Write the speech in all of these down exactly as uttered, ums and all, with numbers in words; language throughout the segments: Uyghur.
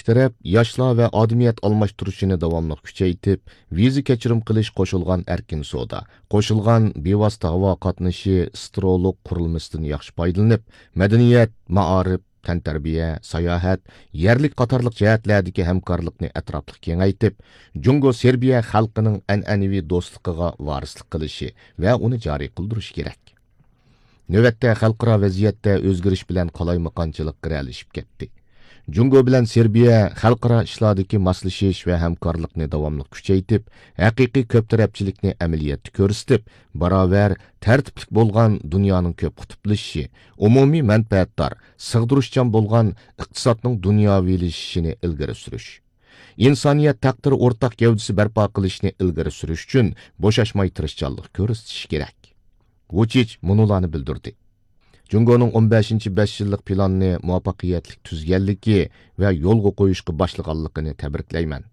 تەرەپ ياشلار ۋە ئادىمىيەت ئالماشتۇرۇشىنى داۋاملىق كۈچەيتىپ، ۋىزا كەچۈرۈم قىلىش، قوشۇلغان ئەركىن سودا، قوشۇلغان بىۋاسىتە ھاۋا قاتنىشى، سترولۇق قۇرۇلمىسىدىن ياخشى پايدىلىنىپ، مەدەنىيەت، مائارىپ، تەنتەربىيە، ساياھەت، يەرلىك قاتارلىق جەھەتلەردىكى ھەمكارلىقنى ئەتراپلىق كېڭەيتىپ، جۇڭگو سېربىيە خەلقىنىڭ ئەنئەنىۋى دوستلۇقىغا ۋارىسلىق قىلىشى ۋە ئۇنى جارى قىلدۇرۇشى كېرەك. نۆۋەتتە خەلقئارا ۋەزىيەتتە ئۆزگىرىش بىلەن قالايمىقانچىلىق گىرەلىشىپ كەتتى. جۇڭگو بىلەن سېربىيە خەلقئارا ئىشلاردىكى ماسلىشىش ۋە ھەمكارلىقنى داۋاملىق كۈچەيتىپ، ھەقىقىي كۆپ تەرەپچىلىكنى ئەمەلىيەتتە كۆرسىتىپ، باراۋەر، تەرتىپلىك بولغان دۇنيانىڭ كۆپ قۇتۇپلىشىشى، ئومۇمىي مەنپەئەتدار، سىغدۇرۇشچان بولغان ئىقتىسادنىڭ دۇنياۋىلىشىشىنى ئىلگىرى سۈرۈش، ئىنسانىيەت تەقدىرى ئورتاق گەۋدىسى بەرپا قىلىشنى ئىلگىرى سۈرۈش ئۈچۈن بوشاشماي تىرىشچانلىق كۆرسىتىشى كېرەك. ۋۇچىچ مۇنۇلارنى بىلدۈردى. جۇڭگونىڭ ئون بەشىنچى بەش يىللىق پىلانىنى مۇۋەپپەقىيەتلىك تۈزگەنلىكى ۋە يولغا قويۇشقا باشلىغانلىقىنى تەبرىكلەيمەن.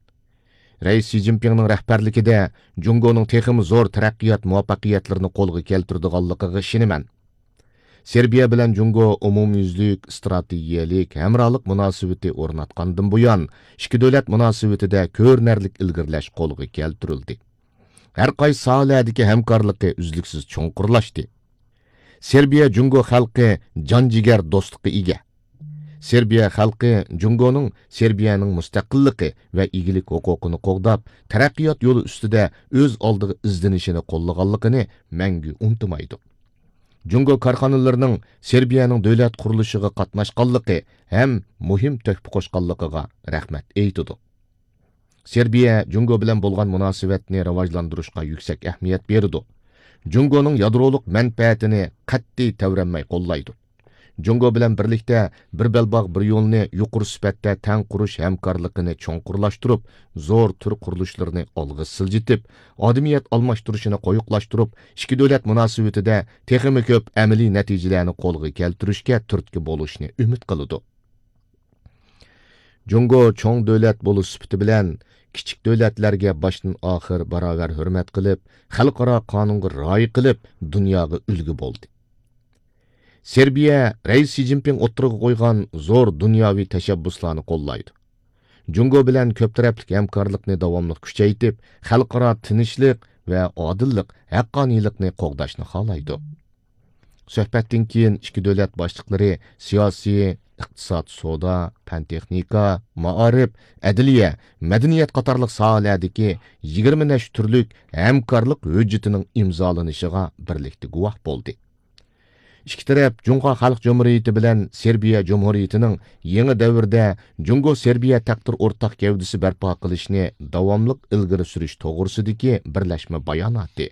رەئىس شى جىنپىڭنىڭ رەھبەرلىكىدە جۇڭگونىڭ تېخىمۇ زور تەرەققىيات مۇۋەپپەقىيەتلىرىنى قولغا كەلتۈرىدىغانلىقىغا ئىشىنىمەن. سېربىيە بىلەن جۇڭگو ئومۇميۈزلۈك ئىستراتېگىيەلىك ھەمراھلىق مۇناسىۋىتى ئورناتقاندىن بۇيان، ئىككى دۆلەت مۇناسىۋىتىدە كۆرۈنەرلىك ئىلگىرىلەش قولغا كەلتۈرۈلدى. ھەر قايسى ساھەلەردىكى ھەمكارلىقى ئۈزلۈكسىز چوڭقۇرلاشتى. سېربىيە جۇڭگو خەلقى جان جىگەر دوستلۇققا ئىگە. سېربىيە خەلقى جۇڭگونىڭ سېربىيەنىڭ مۇستەقىللىقى ۋە ئىگىلىك ھوقۇقىنى قوغداپ، تەرەققىيات يولى ئۈستىدە ئۆز ئالدىغا ئىزدىنىشىنى قوللىغانلىقىنى مەڭگۈ ئۇنتۇمايدۇ. جۇڭگو كارخانىلىرىنىڭ سېربىيەنىڭ دۆلەت قۇرۇلۇشىغا قاتناشقانلىقى ھەم مۇھىم تۆھپە قوشقانلىقىغا رەھمەت ئېيتىدۇ. سېربىيە جۇڭگو بىلەن بولغان مۇناسىۋەتنى راۋاجلاندۇرۇشقا يۈكسەك ئەھمىيەت بېرىدۇ. جۇڭگونىڭ يادرولۇق مەنپەئەتىنى قەتئىي تەۋرەنمەي قوللايدۇ. جۇڭگو بىلەن بىرلىكتە بىر بەلباغ، بىر يولنى يۇقىرى سۈپەتتە تەڭ قۇرۇش ھەمكارلىقىنى چوڭقۇرلاشتۇرۇپ، زور تۈر قۇرۇلۇشلىرىنى ئالغا سىلجىتىپ، ئادىمىيەت ئالماشتۇرۇشىنى قويۇقلاشتۇرۇپ، ئىككى دۆلەت مۇناسىۋىتىدە تېخىمۇ كۆپ ئەمەلىي نەتىجىلەرنى قولغا كەلتۈرۈشكە تۈرتكە بولۇشنى ئۈمىد قىلىدۇ. جۇڭگو چوڭ دۆلەت بولۇش سۈپىتى بىلەن، كىچىك دۆلەتلەرگە باشتىن ئاخىر باراۋەر ھۆرمەت قىلىپ، خەلقئارا قانۇنغا رىئايە قىلىپ، دۇنياغا ئۈلگە بولدى. سېربىيە رەئىس شى جىنپىڭ ئوتتۇرىغا قويغان زور دۇنياۋى تەشەببۇسلارنى قوللايدۇ. جۇڭگو بىلەن كۆپ تەرەپلىك ھەمكارلىقنى داۋاملىق كۈچەيتىپ، خەلقئارا تىنچلىق ۋە ئادىللىق، ھەققانىيلىقنى قوغداشنى خالايدۇ. سۆھبەتتىن كېيىن ئىككى دۆلەت باشلىقلىرى سىياسىي، ئىقتىساد، سودا، پەن-تېخنىكا، مائارىپ، ئەدلىيە، مەدەنىيەت قاتارلىق ساھەلەردىكى يىگىرمە نەچچە تۈرلۈك ھەمكارلىق ھۆججىتىنىڭ ئىمزالىنىشىغا بىرلىكتە گۇۋاھ بولدى. ئىككى تەرەپ جۇڭخۇا خەلق جۇمھۇرىيىتى بىلەن سېربىيە جۇمھۇرىيىتىنىڭ يېڭى دەۋردە جۇڭگو سېربىيە تەقدىر ئورتاق گەۋدىسى بەرپا قىلىشنى داۋاملىق ئىلگىرى سۈرۈش توغرىسىدىكى بىرلەشمە باياناتى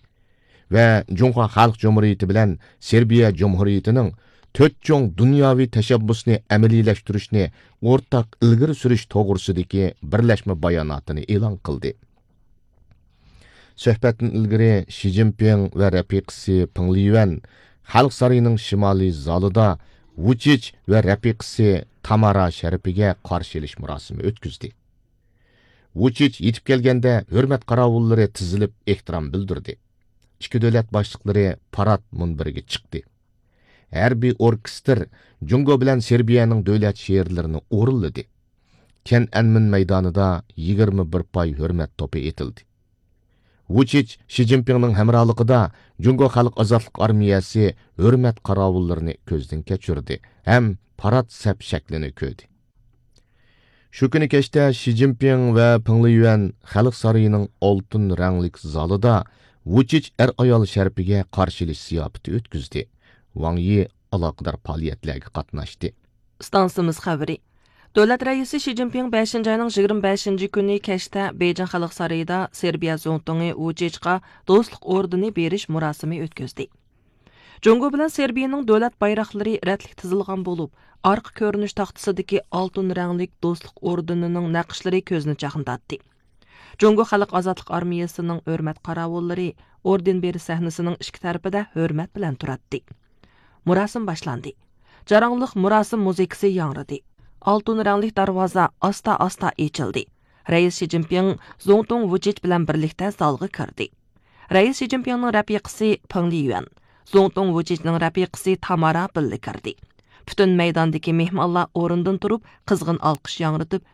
ۋە جۇڭخۇا خەلق جۇمھۇرىيىتى بىلەن سېربىيە جۇمھۇرىيىتىنىڭ تۆت چوڭ دۇنياۋى تەشەببۇسنى ئەمەلىيلەشتۈرۈشنى ئورتاق ئىلگىرى سۈرۈش توغرىسىدىكى بىرلەشمە باياناتىنى ئېلان قىلدى. سۆھبەتتىن ئىلگىرى شى جىنپىڭ ۋە رەپىقىسى پېڭ لىيۈەن خەلق سارىيىنىڭ شىمالىي زالىدا ۋۇچىچ ۋە رەپىقىسى تامارا شەرىپىگە قارشى ئېلىش مۇراسىمى ئۆتكۈزدى. ۋۇچىچ يېتىپ كەلگەندە، ھۆرمەت قاراۋۇللىرى تىزىلىپ ئېھتىرام بىلدۈردى. ئىككى دۆلەت باشلىقلىرى پارات مۇنبىرىگە چىقتى. ھەربىي ئوركېستىر جۇڭگو بىلەن سېربىيەنىڭ دۆلەت شېئىرلىرىنى ئورۇنلىدى. تيەنئەنمېن مەيدانىدا يىگىرمە بىر پاي ھۆرمەت توپى ئېتىلدى. ۋۇچىچ شى جىنپىڭنىڭ ھەمراھلىقىدا جۇڭگو خەلق ئازادلىق ئارمىيەسى ھۆرمەت قاراۋۇللىرىنى كۆزدىن كەچۈردى ھەم پارات سەپ شەكلىنى كۆردى. شۇ كۈنى كەچتە شى جىنپىڭ ۋە پېڭ لىيۈەن خەلق سارىيىنىڭ ئالتۇن رەڭلىك زالىدا ۋۇچىچ ئەر-ئايال شەرىپىگە قارشى ئېلىش زىياپىتى ئۆتكۈزدى. ۋاڭ يى ئالاقىدار پائالىيەتلەرگە قاتناشتى. ئىستانسىمىز خەۋىرى. دۆلەت رەئىسى شى جىنپىڭ بەشىنچى ئاينىڭ يىگىرمە بەشىنچى كۈنى كەچتە بېيجىڭ خەلق سارىيىدا سېربىيە زۇڭتۇڭى ۋۇچىچقا دوستلۇق ئوردېنى بېرىش مۇراسىمى ئۆتكۈزدى. جۇڭگو بىلەن سېربىيەنىڭ دۆلەت بايراقلىرى رەتلىك تىزىلغان بولۇپ، ئارقا كۆرۈنۈش تاختىسىدىكى ئالتۇن رەڭلىك دوستلۇق ئوردېنىنىڭ نەقىشلىرى كۆزنى چاقنىتاتتى. جۇڭگو خەلق ئازادلىق ئارمىيەسىنىڭ ھۆرمەت قاراۋۇللىرى ئوردېن بېرىش سەھنىسىنىڭ ئىككى تەرىپىدە ھۆرمەت بىلەن تۇراتتى. مۇراسىم باشلاندى. جاراڭلىق مۇراسىم مۇزىكىسى ياڭرىدى. ئالتۇن رەڭلىك دەرۋازا ئاستا-ئاستا ئېچىلدى. رەئىس شى جىنپىڭ زۇڭتۇڭ ۋۇچىچ بىلەن بىرلىكتە زالغا كىردى. رەئىس شى جىنپىڭنىڭ رەپىقىسى پېڭ لىيۈەن، زۇڭتۇڭ ۋۇچىچنىڭ رەپىقىسى تامارا بىللە كىردى. پۈتۈن مەيداندىكى مېھمانلار ئورنىدىن تۇرۇپ، قىزغىن ئالقىش ياڭرىتىپ،